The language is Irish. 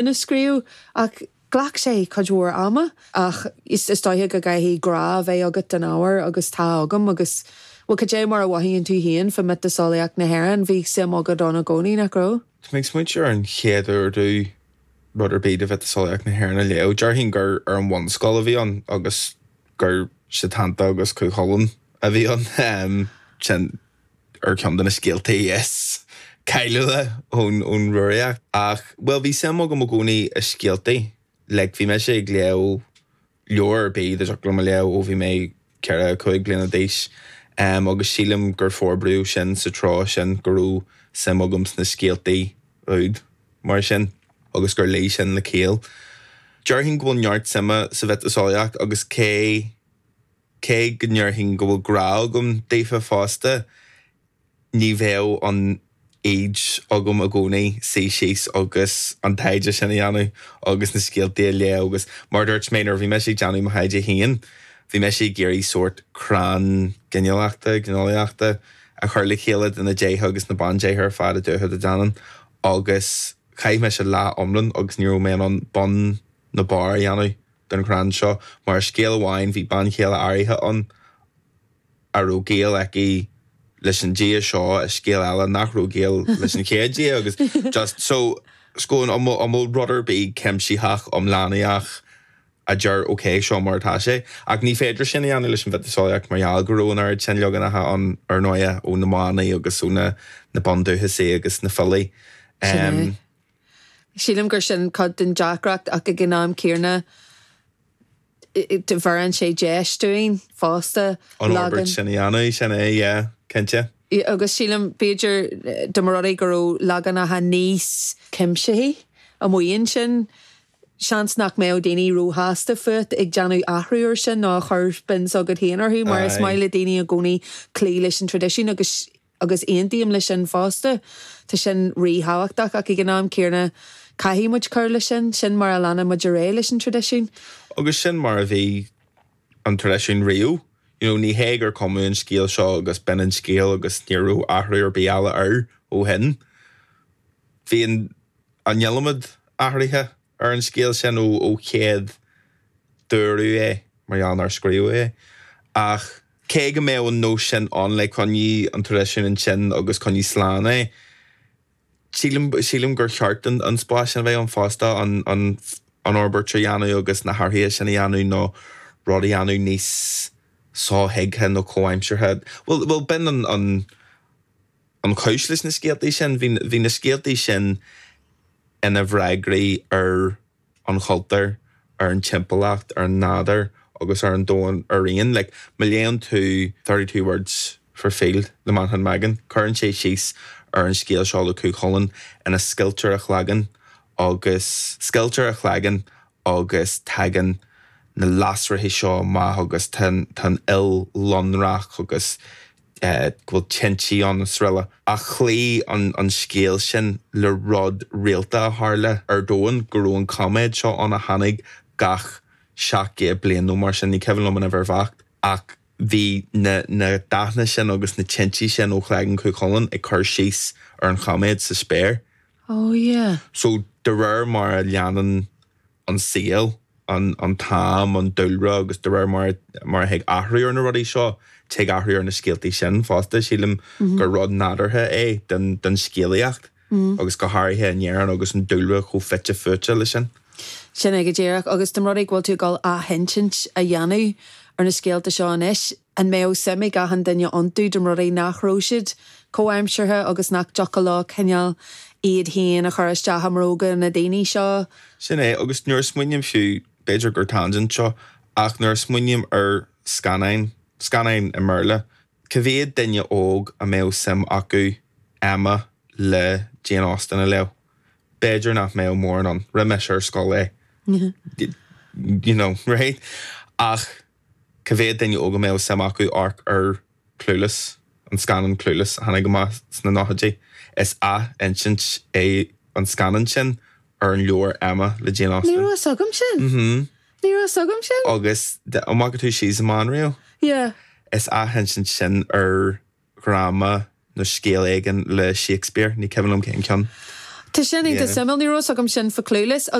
A scríobh ach ghlac sé cuid mhór ama ach is dóiche go gcaithfidh grá a bheith agat don ábhar agus tá agam agus, bhuel, cad é mar a mhothaíonn tú féin fá mhiotaseolaíocht na hÉireann? Bhí suim agat ann i gcónaí, nach raibh? Tá mé ag smaointiú ar an chéad uair domh rud ar bith de mhiotaseolaíocht na hÉireann a léamh. Déarfainn gur ar an bhunscoil a bhí ann agus gur Sétanta agus Cú Chulainn a bhí ann. Sin ar cheann de na scéaltaí is cáiliúla ón Rúraíocht. Ach, bhuel, bhí suim agam i gcónaí i scéaltaí. Like, bhí mise ag léamh leabhar ar bith dá dtiocfadh liom a léamh ó bhí mé 4, 5 bliana d'aois. Agus sílim gur forbraíodh sin sa treo sin, go raibh suim agam sna scéaltaí úd mar sin agus gur luigh sin le ciall. Déarfainn go bhfuil neart suime sa mhiotaseolaíocht agus cé. Cé go ndéarfainn go bhfuil grá agam daofa fosta, ní bheadh an fhoighid agam i gcónaí suí síos agus an taighde sin a dhéanamh agus na scéaltaí a léamh agus mar a dúirt mé, nuair a bhí mise ag déanamh mo thaighde féin, bhí mise ag iarraidh sórt crann ginealachta, gineolaíochta a chur le chéile de na déithe agus na bandéithe ar fad i dTuatha Dé Danann agus chaith mise lá iomlán agus ní raibh mé in ann bun ná barr a dhéanamh. den chrann seo, mar i scéal amháin bhí bean chéile áirithe ann a raibh gaol aici leis an dia seo, i scéal eile nach raibh gaol leis an chéad dia agus just so scóin an bhfuil an bhfuil rud ar bith cuimsitheach iomlánaíoch a deir ok seo mar atá sé ach ní féidir sin a dhéanamh leis an mhiotaseolaíocht mar gheall go raibh an oiread sin leaganacha ann ar ndóighe ó na manaigh agus ó na na bundúchasaigh agus na filí. Sin é. Sílim gur sin cuid den deacracht ach ag an am céanna bheireann sé deis dúinn fosta An fhorbairt sin a dhéanamh, sin é, yeah, cinnte. Agus sílim, b'fhéidir, dá mba rud é go raibh leaganacha níos cuimsithí amuigh ansin, seans nach mbeadh daoine róshásta fút ag déanamh athrú air sin nó ag cur spin s'agat féin orthu mar is maith le daoine i gcónaí cloí leis an traidisiún agus Agus aontaím leis sin fosta. Tá sin ríthábhachtach ach ag an am céanna caithfidh muid cur leis sin. Sin mar a leanann muid ar aghaidh leis an traidisiún. Agus sin mar a bhí an traidisiún riamh. You know, ní hé gur cumadh an scéal seo agus b'in an scéal agus ní raibh athrú ar bith eile air ó shin. Bhí an an iliomad athruithe ar an scéal sin ó chéad dúradh é, mar gheall nár scríobhadh é. Ach cé go mbeadh an nós sin ann le coinnigh an traidisiún ansin agus coinnigh slán é, sílim, sílim gur cheart an spás sin a bheith ann fosta, an, an, an fhorbairt a dhéanamh agus na hathruithe sin a dhéanamh nó rud a dhéanamh níos sothuigthe nó comhaimseartha. Bhuel, bhuel, b'in an, an, an chúis leis na scéaltaí sin. Bhí, bhí na scéaltaí sin ina bhfreagraí ar an chultúr, ar an timpeallacht, ar an nádúr agus ar an domhan araon. Like, má léann tú 32 Words for Field le Manchán Magan, cuireann sé síos ar an scéal seo le Cú Chulainn ina scoiltear a chlaigeann agus scoiltear a chlaigeann agus tagann na lasracha seo amach agus tá an fhuil lonrach agus go bhfuil tintí ann is araile. Ach chloígh an scéal sin le rud rialta a tharla ar domhan, go raibh an coiméad seo ann a tháinig gach 700 bliain nó mar sin, ní cuimhin liom an uimhir bheacht, ach bhí na na dathanna sin agus na tintí sin ó chlaigeann Chú Chulainn ag cur síos ar an choiméad sa spéir. Oh yeah. So de réir mar a leanann an saol, an t-am, an dúlra agus de réir mar mar a thig athrú ar na rudaí seo, tig athrú ar na scéaltaí sin fosta. Sílim gur rud nádúrtha é den den scéalaíocht agus go háirithe in Éirinn agus an dúlra chomh fite fuaite leis sin. Sin é go díreach. Agus dá mba rud é go bhfuil tú ag dul athinsint a dhéanamh ar na scéalta seo anois, an mbeadh suim ag achan duine iontu dá mba rud é nach raibh siad comhaimseartha agus nach dtiocfadh leo cineál iad féin a chur isteach i mbróga na daoine seo? Sin é, agus nuair a smaoiním fiú, b'fhéidir gur tangent seo, ach nuair a smaoiním ar scannáin, scannáin i mBéarla, cá mhéad duine óg a mbeadh suim acu Emma le Jane Austen a léamh? B'fhéidir nach mbeadh mórán ann, rith mise ar scoil é, you know, right? Ach cá mhéad duine óg a mbeadh suim acu amharc ar Clueless, an scannán Clueless a tháinig amach sna nóchaidí. Is ath-insint é an scannán sin ar an leabhar Emma le Jane Austen. Ní raibh fhios agam sin. Mhm. Ní raibh fhios agam sin. Agus an bhfaca tú She's the Man riamh? Yeah. Is athinsint sin ar dhráma nó scéal éigin le Shakespeare, ní cuimhin liom cén ceann. Tá sin iontach suimiúil, ní raibh fhios agam sin fá Clueless.